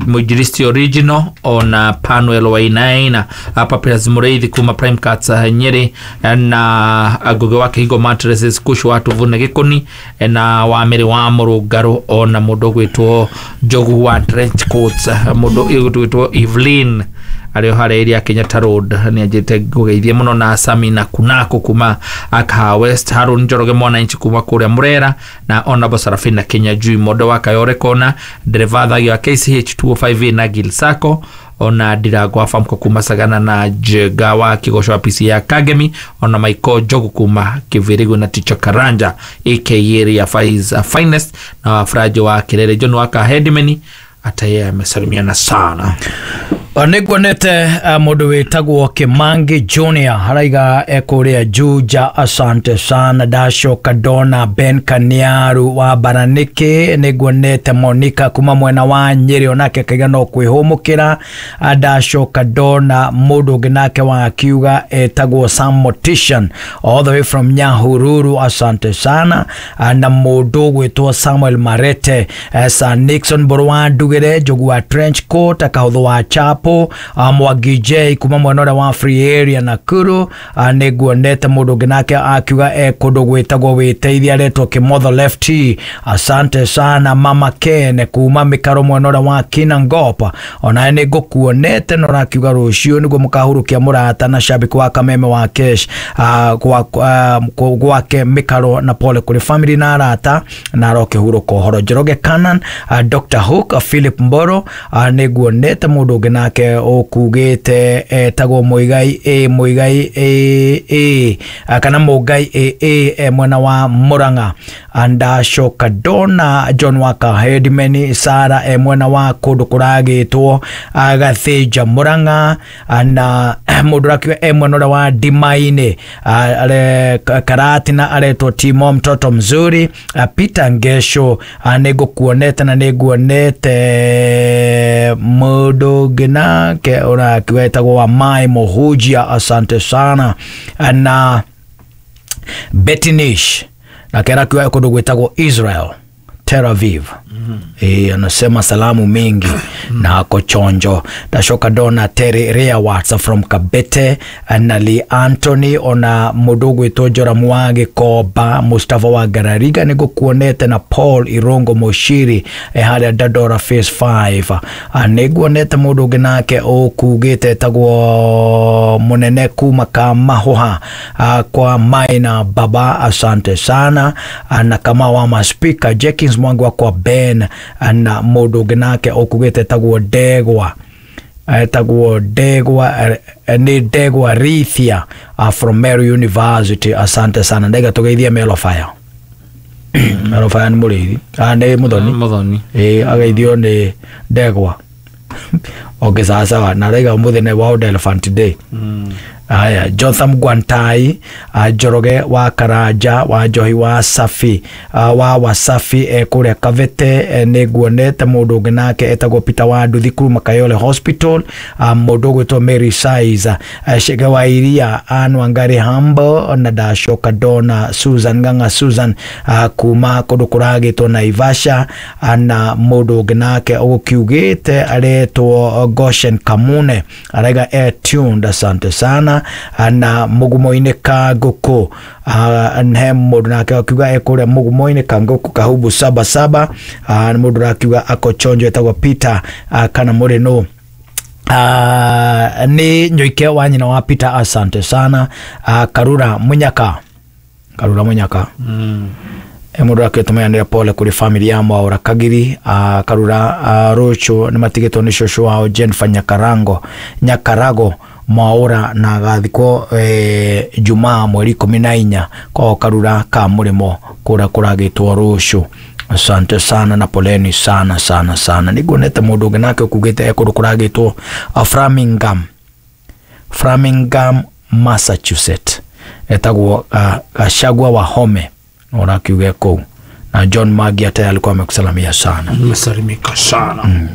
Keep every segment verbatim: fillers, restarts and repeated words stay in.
Mwinjilisti Original, ona Panuel Wainaina, Papias Mureithi kuma Prime Cuts Nyeri, na Ngugi wa Kihingo Mattresses Kushu wa Tuvune Gikoni, na Wamiri wa Murungaru, ona mundu gwitwo Njogu wa Trench Coats, mundu gwitwo Evelyn arĩ o harĩa area Kenyatta Road nĩ anjĩte ngũgeithie mũno, na Samina Kunako kuma Akaha West, Harun Njoroge mwananchi kuma kũrĩa Murera, na Honorable Sarafina Kenya Jui Mondo wa Kayore Kona, ndereva thagi wa K C H two oh five A na Gil Sacco, ona Ndirango wa Famco kuma Sagana, na Njega wa Kigoco wa P C ya Kagemi, ona Michael Njogu kuma Kivirigo, na Ticho Karanja aka Area Faiz Finest, na Wafrajo wa Kirere John wa Kahedimeni, hata yeye amesalimiana sana. Nĩnguonete mũndũ wĩtagwo Kĩmangi Junior haraiga ekũrĩa Juja, asante sana. Ndacoka ndona Ben Kaniaru wa Baranĩkĩ, nĩnguonete Monica kuma mwena wa Nyĩrĩ, onake akaiga no kwĩhũmũkĩra. Ndacoka ndona mũndũ ũngĩ nake wa kiuga etagwo Sam Mortician all the way from Nyahururu, asante sana. Na mũndũ ũgwĩtwo Samuel Marete, Sir Nixon Mbũrũ wa Ndugĩre, Njogu wa Trench Coat, Kahũthũ wa Chapo, Mwangi J kuma mwena ũrĩa wa Free Area Nakuru. Nĩnguonete mũndũ ũngĩ nake akiuga e kũndũ gwĩtagwo wĩteithia aretwo Kĩmotho Lefty, asante sana. Mama Ken kuma mĩkaro mwena ũrĩa wa Kinangop, onawe nĩngũkuonete na ũrakiuga rũciũ nĩguo mũkahurũkia mũrata na shabiki wa Kameme wa Kesh gwake mĩkaro, na pole kũrĩ family na arata, na arokĩhurũka ũhoro. Njoroge Canan, Doctor Hook, Philip Mboro, nĩnguonete mũndũ ũngĩ nake ũkugĩte etagwo Muigai A Muigai A A kana Mũngai A A mwena wa Murang'a. Ndacoka ndona John Waka Hedimeni Sara e mwena wa kũndũ kũragĩtwo Gathĩnja Murang'a, na mũndũ ũrakiuga e mwena ũrĩa wa Ndimainĩ Karatina aretwo Timo mtoto mzuri. Peter Ngesho nĩngũkuonete na nĩnguonete mũndũ ũngĩ nake ũrakiuga etagwo Wamai Mũhunjia, asante sana. Na Betinish nake arakiuga kũndũ gwĩtagwo Israel Tel Aviv. Mm -hmm. E, anasema salamu mingi mm -hmm. na ako chonjo. Ndacoka ndona Terry Rea Watts from Kabete, na Lee Anthony, ona mũndũ ũgwĩtwo Joramu wa Gĩkomba, Mustafa wa Garariga nĩngũkuonete, na Paul Irongo Moshiri e harĩa Dandora Phase five. Nĩnguonete mũndũ ũngĩ nake ũkugĩte etagwo Mũnene kuma Kamahuha kwa Maina Baba, asante sana. Na kama wa maspika Jenkins Mwangi wa kwa Ben, na mũndũ ũngĩ nake ũkugĩte etagwo Ndegwa, etagwo Ndegwa nĩ Ndegwa Rithia from Meru University, asante sana. Ndaiga tũgeithie Melo Fire. Melo Fire nĩ mũrĩithi, nĩ mũthoni, mũthoni ĩĩ, ageithio nĩ Ndegwa. Okay, sawa sawa. Na raiga ũmũthĩ nĩ World Elephant Day. Mm. Aya, Jotham Gwantai, uh, Njoroge wa Karanja wa Njohi wa Safi, uh, wa Wasafi e kũrĩa Kavete, e, nĩnguonete mũndũ ũngĩ nake etagwo Peter wa Nduthi kuma Kayole Hospital, uh, mũndũ ũgwĩtwo Mary Size, uh, Shege wa Iria, Ann Wangari Humble, na ndacoka ndona Susan Ng'ang'a Susan, uh, kuma kũndũ kũragĩtwo Naivasha, uh, na mũndũ ũngĩ nake ũgũkiugĩte aretwo Goshen Kamune, araiga e tuned, asante sana. Na mugumo-inĩ ka ngũkũ, he mũndũ nake akiuga ekũrĩa mugumo-inĩ ka ngũkũ Kahubu saba saba, nĩ mũndũ ũrakiuga ako chonjo etagwo Peter, kana mũrĩ nũ nĩ Nyoike wa nyina wa Peter, asante sana. Karura Munyaka, Karura Munyaka mm. Mũndũ akĩtũmeanĩra pole kũrĩ family ya Mwaũra Kagiri, uh, Karura uh, Rũciũ nĩ matigĩtwo nĩ cũcũ wao Jennifer Nyakarango Nyakarago Mwaũra, na agathikwo eh, Jumaa mweri ikũmi na inya kwa Karura ka mũrĩmo kũrĩa kũragĩtwo rũciũ. Asante sana na poleni sana sana sana. Nĩnguonete mũndũ ũngĩ nake ũkugĩte e kũndũ kũragĩtwo Framingham, Framingham Massachusetts, etagwo Gachagua wa Home, ũrakiuga kũu. Na John Magi hata alikuwa amekusalamia sana. Nimesalimika sana. Mm.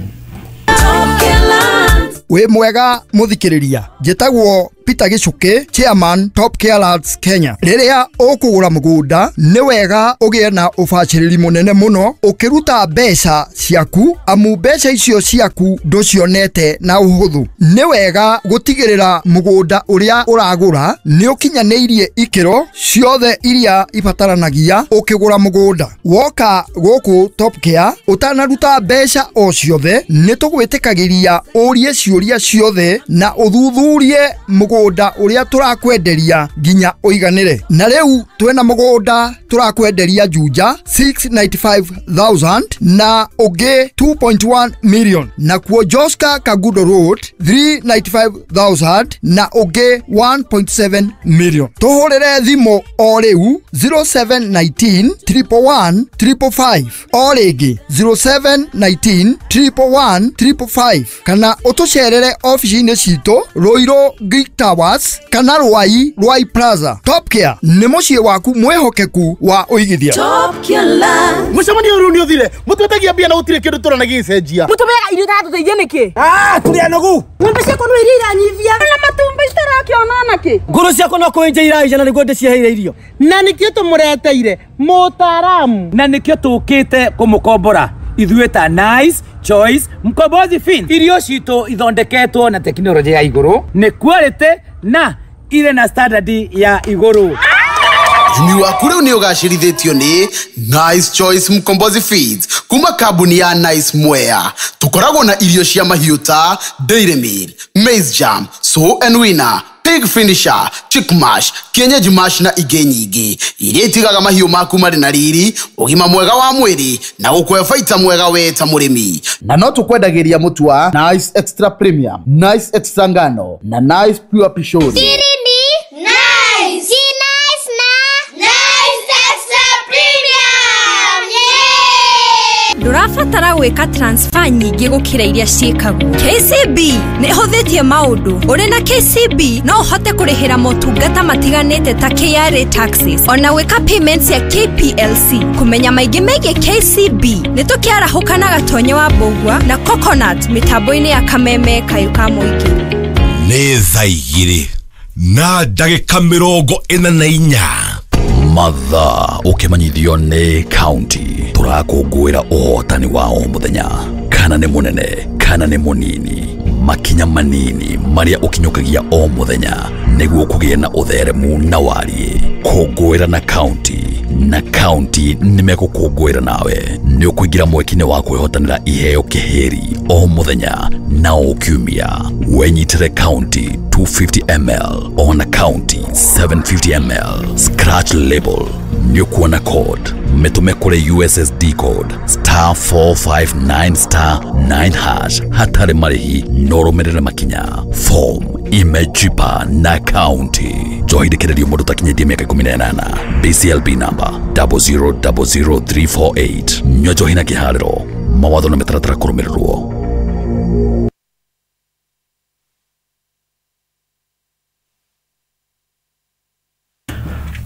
Wĩ mwega mũthikĩrĩria, njĩtagwo Peter Gichuki, chairman Top Care Lands Kenya. Rĩrĩa ũkũgũra mũgũnda nĩ wega ũgĩe na ũbacĩrĩri mũnene mũno ũkĩruta mbeca ciaku, amu mbeca icio ciaku ndũcionete na ũhũthũ. Nĩ wega gũtigĩrĩra mũgũnda ũrĩa ũragũra nĩ ũkinyanĩirie ikĩro ciothe iria ibataranagia ũkĩgũra mũgũnda. Woka gũkũ Top Care ũtanaruta mbeca o ciothe nĩ tũgwĩtĩkagĩria ũrie ciũria ciothe na ũthuthurie mũgũnda ũrĩa tũrakwenderia nginya ũiganĩre. Na rĩu twĩna mũgũnda tũrakwenderia Juja six ninety-five thousand na ũngĩ two point one million, nakuo Joska Kagudo Road three ninety-five thousand na ũngĩ one point seven million. Tũhũrĩre thimũ o rĩu zero seven nineteen triple one triple five, o rĩngĩ zero seven nineteen triple one triple five, kana ũtũcerere ofici-inĩ citũ Ruiru Greek Towers kana Ruai Ruai Plaza. Top Care nĩ mũciĩ waku mwĩhokeku wa ũigithia. Top Care Land. Mũcemanio ũyũ nĩ ũthire mũtwetagia mbia na gũtirĩ kĩndũ tũrona gĩgĩcenjia. Mũtũmeaga irio itatũteithia nĩkĩ? Ah, tũrĩ anogu. Ng'ombe ciakwa no iria iranyivia na matumbĩ itarakĩona nakĩ. Ngũrũ ciakwa no kũenja iraija na nĩguo ndĩciheire irio. Na nĩkĩo tũmũreteire mũtaaramu. Na nĩkĩo tũkĩte kũmũkombora ithuĩ ta Nice Choice Mkombozi Fin. Irio citũ ithondeketwo na tekinoronjĩ ya igũrũ, nĩ quality na ire na standard ya igũrũ. Ũrĩmi waku rĩu nĩ ũgacĩrithĩtio nĩ Nice Choice Mkombozi Feeds kuma kambuni ya Nice Mwea. Tũkoragwo na irio cia mahiũ ta Dairy Meal, Maize Jam, Sow and Winner, Pig Finisher, Chick Mash, Kienyeji Mash na ingĩ nyingĩ iria itigaga mahiũ maku marĩ na riri, ũgima mwega wa mwĩrĩ na gũkũhe baita mwega we ta mũrĩmi. Na no tũkwendagĩria mũtu wa Nice Extra Premium, Nice Extra Ngano na Nice Pure Pishori. Siri ni Nice. Si Nice na Nice Extra Premium. Yeah! Ndũrabatara gwĩka transfer nyingĩ gũkĩra iria ciĩkagwo. K C B nĩ ĩhũthĩtie maũndũ. Ũrĩ na K C B no ũhote kũrĩhĩra motungata matiganĩte ta K R A taxes, ona gwĩka payments ya K P L C. Kũmenya maingĩ megiĩ K C B nĩ tũkĩarahũka na Gatonye wa Mbũgua na Coconut mĩtambo-inĩ ya Kameme Kayũ ka Mũingĩ. Nĩ thaa igĩrĩ na ndagĩka mĩrongo ĩna na inya. Mathaa ũkĩmenyithio nĩ county tũrakũngũĩra ũhotani wa o mũthenya, kana nĩ mũnene kana nĩ mũnini, makinya manini marĩa ũkinyũkagia o mũthenya nĩguo kũgĩe na ũtheremu na wariĩ. Kũngũĩra na county, na county nĩmegũkũngũĩra nawe. Nĩ ũkũingĩra mweke-inĩ wa kwĩhotanĩra iheo kĩhĩri o mũthenya na o kiumia. Wenyitĩre county two fifty milliliters ona county seven fifty milliliters. Scratch label nĩ ũkuona code, mĩtũme kũrĩ U S S D code star four five nine star nine hash hatarĩ marĩhi no ũrũmĩrĩre makinya. Form imejipa na county. Njohi ndĩkĩrĩrio mũndũ ũtakinyĩtie mĩaka ikũmi na ĩnana. B C L B number double zero double zero three four eight. Nyua njohi na kĩharĩro. Mawatho na mĩtaratara kũrũmĩrĩrwo.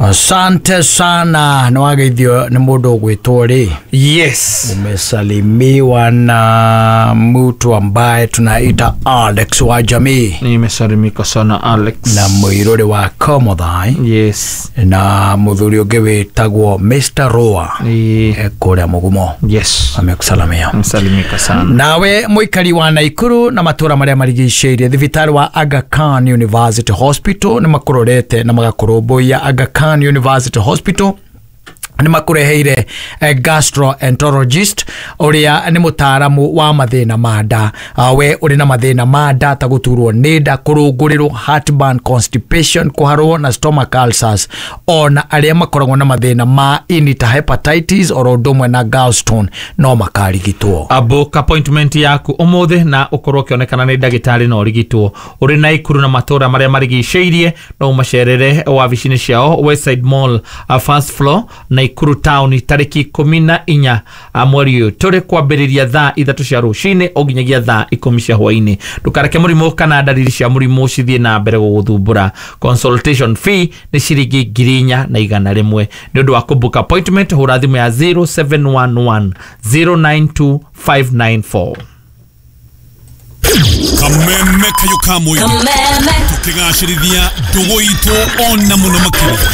Asante sana. Nĩ wageithio nĩ mũndũ ũgwĩtwo rĩ? Yes. Umesalimiwa na mtu ambaye tunaita Alex wa jamii. Nimesalimika sana Alex. Na mũirũrĩ wa Komothai. Yes. Na mũthuri ũngĩ wĩtagwo Mister Roa. Yeah. Kũrĩa Mũgumo. Yes. Amekusalamia. Amesalimika sana. Nawe mũikari wa Naikuru na matũra marĩa marigicĩirie thibitarĩ wa Aga Khan University Hospital nĩ makũrorete na magakũrũmbũiya. Aga Khan University Hospital nĩ makũreheire gastroenterologist ũrĩa nĩ mũtaaramu wa mathĩna ma nda. We ũrĩ na mathĩna ma nda ta gũturwo nĩ nda, kũrũngũrĩrwo, heartburn, constipation, kũharwo na stomach ulcers, ona arĩa makoragwo na mathĩna ma ini ta hepatitis oro ũndũ ũmwe na gallstone no makarigitwo. Book appointment yaku ũmũthĩ na ũkorwo ũkĩonekana nĩ ndagĩtarĩ na ũrigitwo. Ũrĩ Naikuru na matũra marĩa marigicĩirie no ũmacerere wabici-inĩ ciao Westside Mall first floor na Nakuru town tariki ikumi na inya mweri ũyũ tũrĩ kwambĩrĩria thaa ithatũ cia rũcinĩ o nginyagia thaa ikũmi cia hwainĩ. Ndũkareke mũrimũ kana ndariri cia mũrimũ cithiĩ na mbere gũgũthumbũra. Consultation fee nĩ ciringi ngiri inya na igana rĩmwe. Nĩ ũndũ wa kũbook appointment hũra thimũ ya zero seven one one zero nine two five nine four. Kameme kayo ka mũingĩ. Kameme. Tũkĩgacĩrithia ndũgũ itũ ona mũno makĩria.